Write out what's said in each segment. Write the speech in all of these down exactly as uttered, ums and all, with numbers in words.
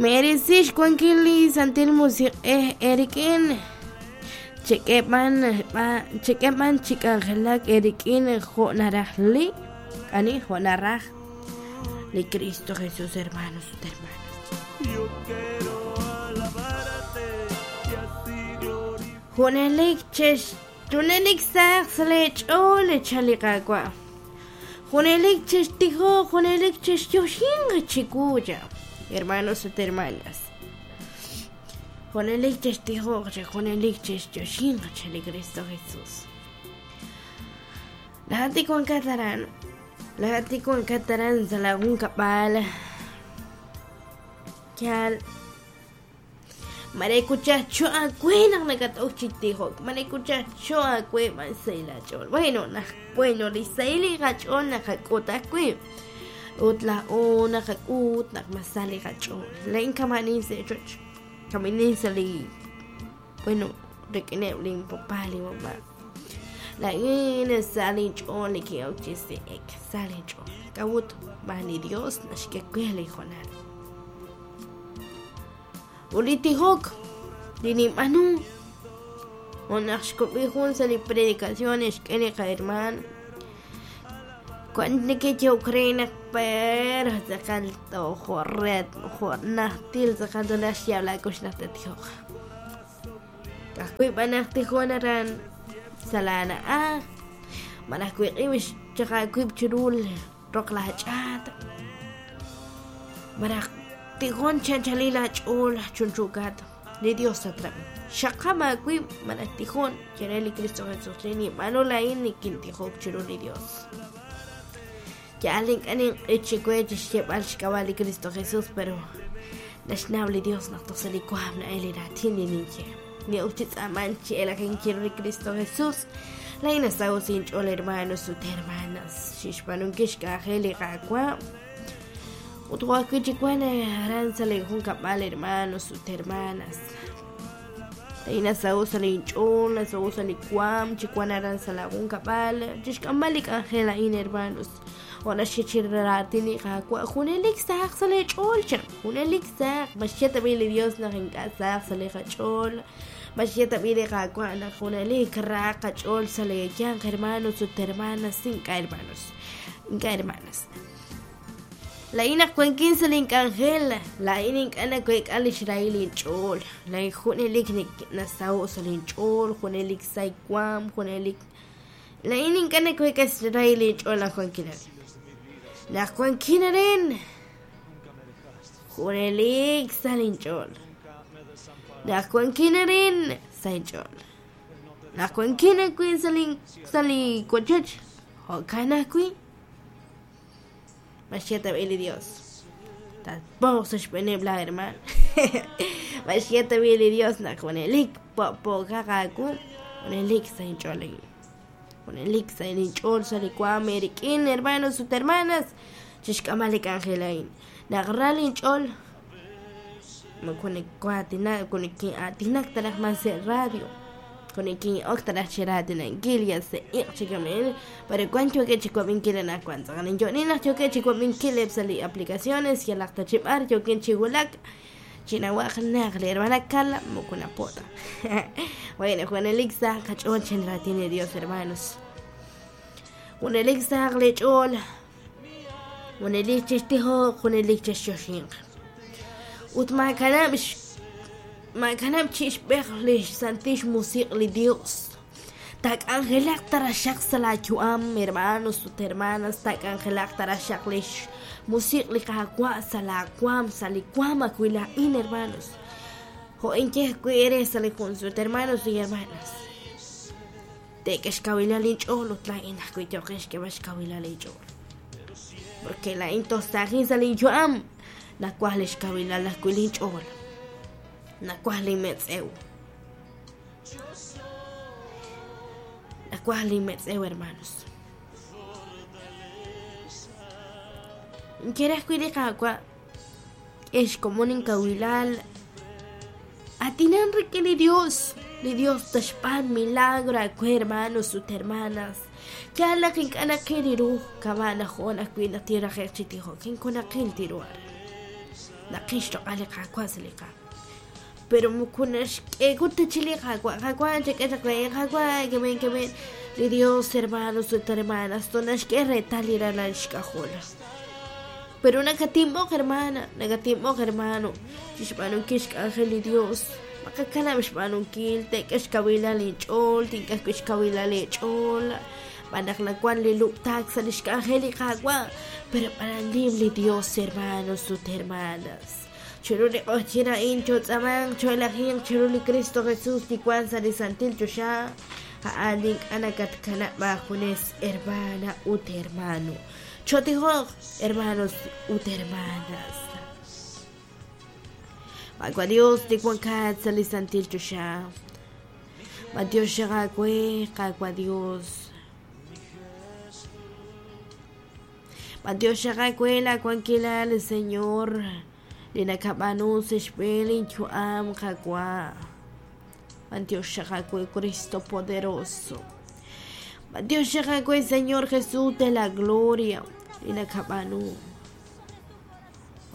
Merisi xwankil li Santil Musiq'ej eerik'in, chek'e b'an chek'e b'an chi k'anjelak eerik'in jo' naraj li ani jo' naraj li Cristo Jesús, hermanos ut hermanas. Yo quiero alabarte y así glorificar. Junelik chex junelik saq sa' leech'ool chan li Qaawa'. Junelik chextijoq, junelik chexyoxinq chiwu cha, hermanos ut hermanas. Junelik chextijoq cha, junelik chexyoxinq cha li Cristo Jesús. Lahat ikuan kataran, lahat ikuan kataran sa lagun kab'al. Yal marekuchacho aawe naq nakat'ok chi tijok, marekuchacho aawe b'an sahil aach'ool. Bueno, naq bueno li sahil li qach'ool naqak'ut ajwi'. Ut laa'o naqak'ut naq mas sa li qach'ool. Laa'in kama'anin sa' ochoch, kama'anin sa' li bueno rik'ineb' linpapá linmamá. Laa'in sa linch'ool nikin'ok chi se'ek, sa linch'ool. K'a'ut b'an li Dios naxk'e we li hoonal. Ut li tijok li ninb'aanu jo' naq xkub'i jun sa' li predicación xk'e li qahermano. Cuando neke'yehok re naq pero tz'aqal jo' ret jo' najtil tz'aqal tonaj xyaab' laakux naq tattijoq. Ka'ajwi' b'an naq tijon aran sa' laana'aj, malaj wiq'ib' xchaq aawib' chiru roq laach'aat, malaj tijon chanchalil aach'ool chunchuukat, li Dios tatrab'i. Xaqam aawib' malaj tijon chere li Cristo Jesús. Li ninb'aanu laa'in nikintijok chiru li Dios. Yal ink'a' ninq'ich chiwe chi xyeeb'al xk'ab'a' li Cristo Jesús, pero naxnaw li Dios naq toj sa' li waam na'el li raatin li ninye. Ni'ok chi tz'aaman chi elajin chiru li Cristo Jesús. Laa'in nasaho sa' inch'ool, hermanos ut hermanas, xixb'aanunkil xk'anjel li Qaawa'. Ut jo' ajwi' chi wan aran sa' li junkab'al, hermanos ut hermanas. Laa'in nasaho sa' linch'ool, nasaho sa' li waam chi wan aran sa' la junkab'al, chixk'amb'al li k'anjel a'in, hermanos. Jo' naxye chi raatin li Qaawa', junelik sahaq sa' leech'ool cha, junelik sahaq. Maxye tab'i li Dios naq ink'a' sahaq sa' li qach'ool. Maxye tab'i li Qaawa' naq junelik raaq qach'ool sa' leeyanq, hermanos ut hermanas, ink'a' hermanos, ink'a' hermanas. Laa'in naq wankin sa' link'anjel, laa'in ink'a' naweek'a li xrahil inch'ool. Laa'in junelik nasaho' sa' linch'ool, junelik sa waam, junelik. Laa'in ink'a' naweek'a xrahil inch'ool naq wankin arin. Naq wankin arin, junelik sa linch'ool. Naq wankin arin, sa inch'ool. Naq wankin ajwi' sa' lin sa' li wochoch, jo'kan ajwi'. Maxye tab'i li Dios. Tatpo'q sa' xb'eeneb' laa hermano. Maxye tab'i li Dios naq junelik po'po'kaq aawu, junelik sa inch'ool a'in. Junelik sa inch'ool sa' li waam eerik'in, hermanos ut hermanas, chixk'amb'al li k'anjel a'in. Naq ra linch'ool, moko niki'aatinak, moko nikin'aatinak ta raj mas sa' radio. Con nikin'ok ta raj chi raatinankil ya sa' iq' chi kama'in, pero wan yookeb' chi wab'inkil anaqwan. Tz'aqal inyo'nin naq yookeb' chi wab'inkil eb' sa' li aplicaciones yalaq ta chi b'ar yookin chi wulak, chinawaq naq li hermana Carla moko napo' ta. Bueno, junelik sahaq qach'ool chin raatin li Dios, hermanos. Junelik sahaq leech'ool, junelik chextijoq, junelik chexyoxinq. Ut maakanab' maakanab' chi ixb'ej li xsantil xmusiq' li Dios. Taak'anjelaq taraxaq sa' laayu'am, hermanos ut hermanas, taak'anjelaq taraxaq li xmusiq' li Qaawa' sa' laawaam, sa' li waam ajwi' laa'in, hermanos. Jo' inkej ajwi' eere sa' li jun sut, hermanos y hermanas. Teek'e xkawilal inch'ool ut laa'in ajwi' yooqin xk'eeb'al xkawilal inch'ool. Porque laa'in toj saajin sa' linyu'am, nawaj li xkawilal ajwi' linch'ool. Nawaj linmetz'ew. Nawaj linmetz'ew, hermanos. Inkere ajwi' li Qaawa' k'e xkomon inkawilal. Atinan rik'in li Dios. Li Dios taxb'aan milagro aawe, hermanos ut hermanas. Yal naq ink'a' naqil ru kama' naq jo'on ajwi' naq tiraje'q chi tijok, inkun naqil tiru aran. Naqil xloq'al li Qaawa' sa' li qaam. Pero moko naxk'e ta chi li Qaawa', Qaawa' chak'e chaq re, Qaawa' kemen kemen. Li Dios, hermanos ut hermanas, to naxk'e reetal li ralal xk'ajol. Pero nakatinb'oq, hermana, nakatinb'oq, hermano, chixb'aanunkil xk'anjel li Dios. Maqakanab' xb'aanunkil, teek'e xkawilal inch'ool, tink'e ajwi' xkawilal eech'ool. B'anaq nawan li lub'taak sa' li xk'anjel li Qaawa', pero b'ananim li Dios, hermanos ut hermanas. Chiru li q'oqyin a'in chotz'amanq, choelajinq chiru li Cristo Jesús li wan sa' li Santil Choxa, a'an ink'a' nakatkanab' aajunes, hermana ut hermano. Chotijoq, hermanos ut hermanas. Qaawa' Dios li wankat sa' li Santil Choxa. Matiox xaqawe, Qaawa' Dios. Matiox xaqawe la wankilal, Señor. Li nakab'aanu sa' xb'een inyu'am, Qaawa'. Matiox xaqawe, Cristo poderoso. Matiox xaqawe, Señor Jesús de la gloria. Li nakab'aanu.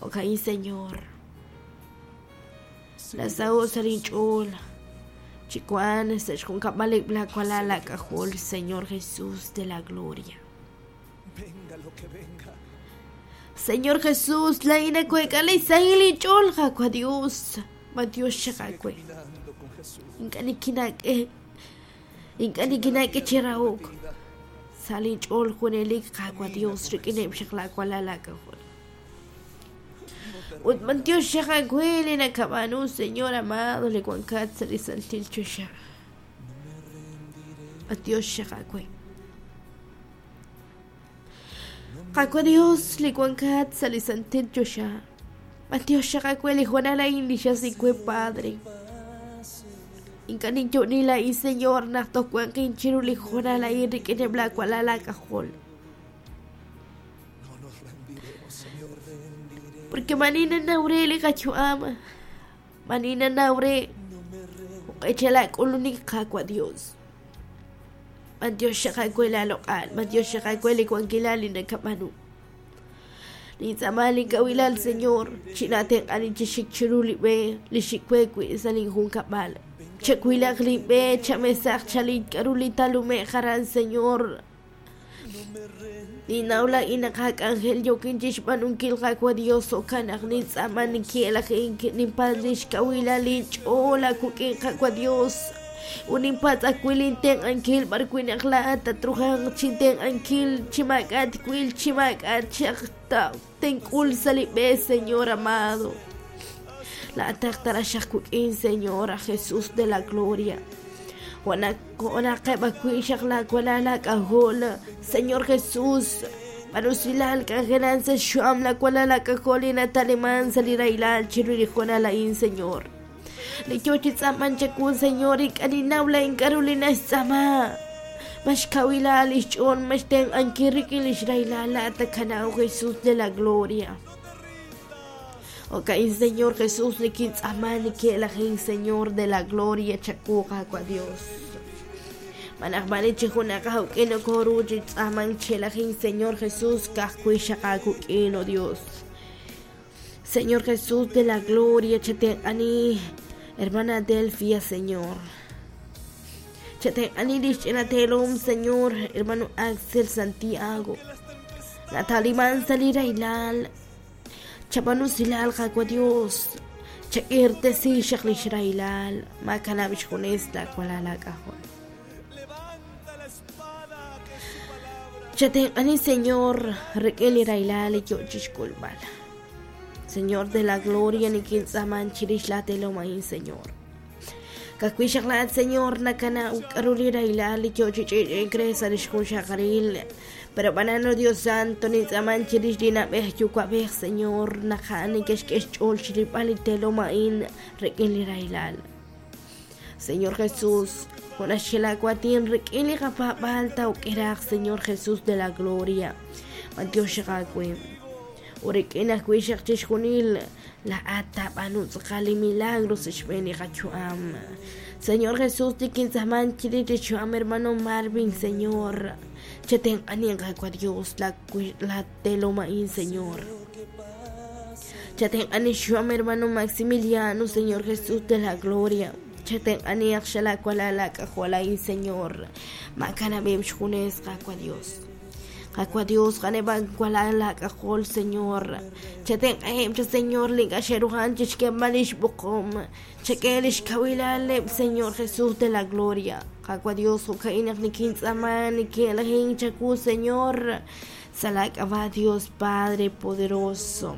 Okain, Señor. Nasaho' sa' linch'ool. Chikuan sa' xjunkab'al la walal lak'ajol, Señor Jesús de la gloria. Venga lo que venga. Señor Jesús, la ina kuekale sahil inch'ool, Qaawa' Dios. Matiox xaqawe. Caminando con Jesús. Ink'a' nikinak'e. Ink'a' nikinak'e chirahok. Sa' linch'ool junelik, Qaawa' Dios, rik'ineb' xaq la walal lak'ajol. Ut matiox xaqawe li nakab'aanu, Señor amado, li wankat sa' li Santil Choxa. Matiox xaqawe. Qaawa' Dios, li wankat sa' li Santil Choxa. Matiox xaqawe li Juanal a'in li xasikwe, Padre. Ink'a' ninyu'nil a'in, Señor, naq toj wanqin chiru li Juanal a'in rik'ineb' la walal lak'ajol. No nos rendiremos, Señor, rendiremos. Porque manina nawre li qach'u'am. Manina nawre. Uq'echela k'ulunik Qaawa' Dios. Matiox xaqawe la loq'al, matiox xaqawe li wankilal li nakab'aanu. Nintz'aama linkawilal, Señor, chinatenq'ani chixik chiru li b'e, li xikwe wi' sa' linjunkab'al. Chakwilaq li b'e, chamesaq chalin k'aru li talume' jaran, Señor. Ninawla inaqak'anjel yokin chixb'aanunkil Qaawa' Dios, okanaq nintz'aama ninki'elajin ninpatz' xkawilal linch'ool akuk'in Qaawa' Dios. Uninpatz' akwil intenq'ankil b'arwinaq la'at tatrujanq chintenq'ankil chimak'at kwil chimak'at chaq ta tenk'ul sa' li b'e, Señor amado. La'ataq taraxaq kuk'in, Señor, a Jesús de la gloria. Wanaqeb' akwi' xaq la walal lak'ajol, Señor Jesús. Manusilal k'anjelan sa' xyu'am la walal lak'ajol inataliman sa' li raylal chiru li Juanal a'in, Señor. Li yo chi tz'aman chaku, Señor, ik'aninawla ink'aru li naxtz'ama. Maxkawilal ixch'ool, maxtenq'ankil rik'in li xraylal la'atakanaw, Jesús de la gloria. Okain, Señor Jesús, nikintz'ama niki'elajin, Señor de la gloria, chaku Qaawa' Dios. Manaq mani chi junaq jawk'in okoru chi tz'aman chelajin, Señor Jesús, kajkui xaqakuk'in, oh Dios. Señor Jesús de la gloria, chatenq'ani, hermana Delfia, Señor. Chatenq'ani lixch'inatelum, Señor, hermano Axel Santiago. Nataliman salirailal. Chabanu silal Qaawa' Dios. Chak'irtesi xaq lixrailal. Makanab' xjunes la walal lak'ajol. Levanta la espada que es su palabra. Chatenq'ani, Señor, rik'in li railal yo chixk'ulb'al. Señor de la gloria, nikintz'aman chirix la telomain, Señor. Kakwi xaqlaat, Señor, nakana uk'aru li railal yo chich'ich'in kresa lixjun xaqaril. Pero banano Dios Santo, nintz'aman chirix li nab'ej yuwa'b'ej, Señor, naqa'an nikexk'ex ch'ool chirib'al li telomain rik'in li railal. Señor Jesús, Junaxelakuatin rik'in li qapab'al tawk'iraq, Señor Jesús de la gloria. Matiox xaqawe. Urik'in ajwi' xaq chixjunil la'at tab'anu tz'aqal li milagros xb'een li qachu'am. Señor Jesús, tikintz'aman chirix li chu'am, hermano Marvin, Señor. Chatenq'ani Qaawa' Dios, la la teloma'in, Señor. Chatenq'anixuam hermano Maximiliano, Señor Jesús de la gloria. Chatenq'aniaq xalakualalak'ajualain, Señor. Makanabim xjunes qakua Dios. Qakua Dios qaneban kualalak'ajol, Señor. Chatenq'ajem cha Señor link'axerujan chixkemalish buqom. Chakelish kawilaleb, Señor Jesús de la gloria. Qakua Dios jokainaq nikintz'aman nikelajin chaku, Señor. Salak'aba Dios Padre poderoso.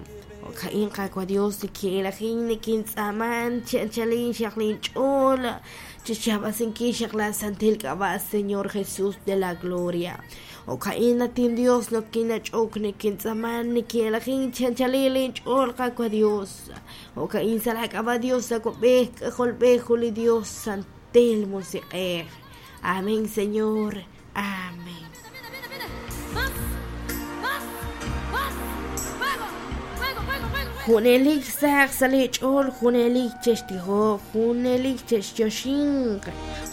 Kain qakua Dios nikelajin nikintz'aman chanchalin xaqlin ch'ol. Chichabasinki xaqla santil k'aba, Señor Jesús de la gloria. O kain natin Dios no kinach'ok nikintz'aman nikelajin chanchalilin ch'ol qakua Dios. O kain salak'aba Dios akob'ej k'ajolb'ej juli Dios santil musiq'ej. Amén, Señor. Amén. Junelik saq sale ch'ol, junelik chextijo, junelik chexyoxinq,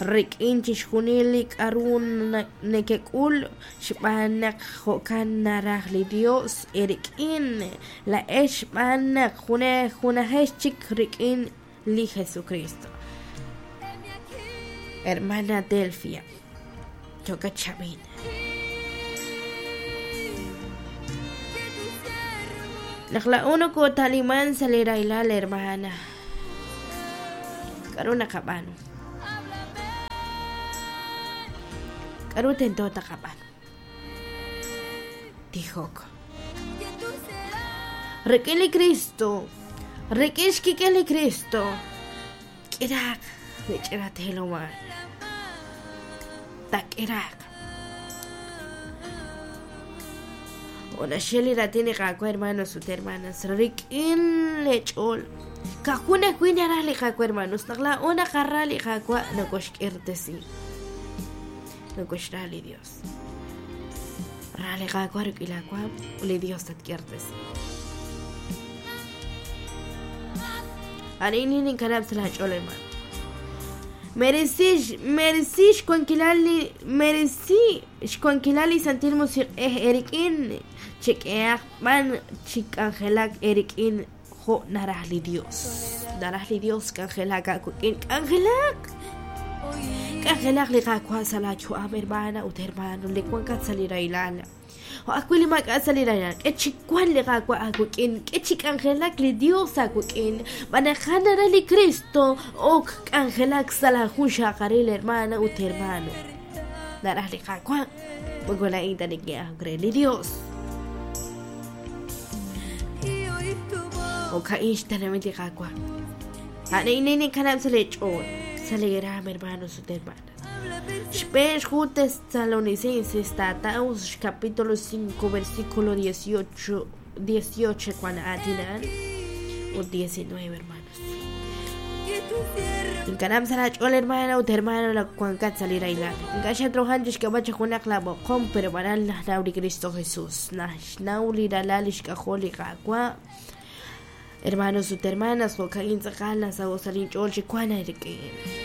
rik'in chixjunelik arun nekek'ul, xb'anaq jo'kan naraj li Dios erik'in, la ex xb'anaq june junajex chik rik'in li Jesucristo. Hermana Delfia, choca chavin. Naq uno ko taliman salira ilal hermana. Karuna kabano. Karu tento takabano. Tijok. Rekeli Cristo. Rekeshkikeli Cristo. Kirak. Nichirateloma. Tak irak. Una sheli ratini qakua hermanos ut hermanas rik'in lech'ol kajuna kuinaraj li qakua hermanos naq la una qarra li qakua nokoxk'irtesi nokoxra li Dios ra li qakua rik'ilakua li Dios tatk'irtesi arini ninkanab' sa lach'ol hermano. Merecí, merecí xkuankilali, merecí xkuankilali santil musiq'ej erikin chik'eaq b'an chik'anjelak erikin jo naraj li Dios. Naraj li Dios k'anjelak akuk'in k'anjelak. K'anjelak li qakua sa la yu'am hermana ut hermano li kuankat sa li railal. O akwili mak'a sa li railal k'echikuan li qakua akuk'in k'echik'anjelak li Dios akuk'in b'anajan li Cristo ok k'anjelak sa la jun xaqaril hermana ut hermano. Naraj li qakua mokolain tanik'e li Dios. O ka'ix tanamit li qakua. Anini kanab sa li ch'ol sa li ram hermanos ut hermanas. Xb'ex ju Tesalonicenses Tataus capítulo cinco versículo dieciocho dieciocho cuando atinan o diecinueve hermanos. Inkanam sa ch'ol hermana ut hermano la kuankat salir ailan. Inkasha trojan xkabacha junak la boqom pero baral nauli Cristo Jesús. Nauli ralal xkajol qakua. Hermanos ut hermanas jokain tz'aqal sa osalin ch'ol xikuana rikin.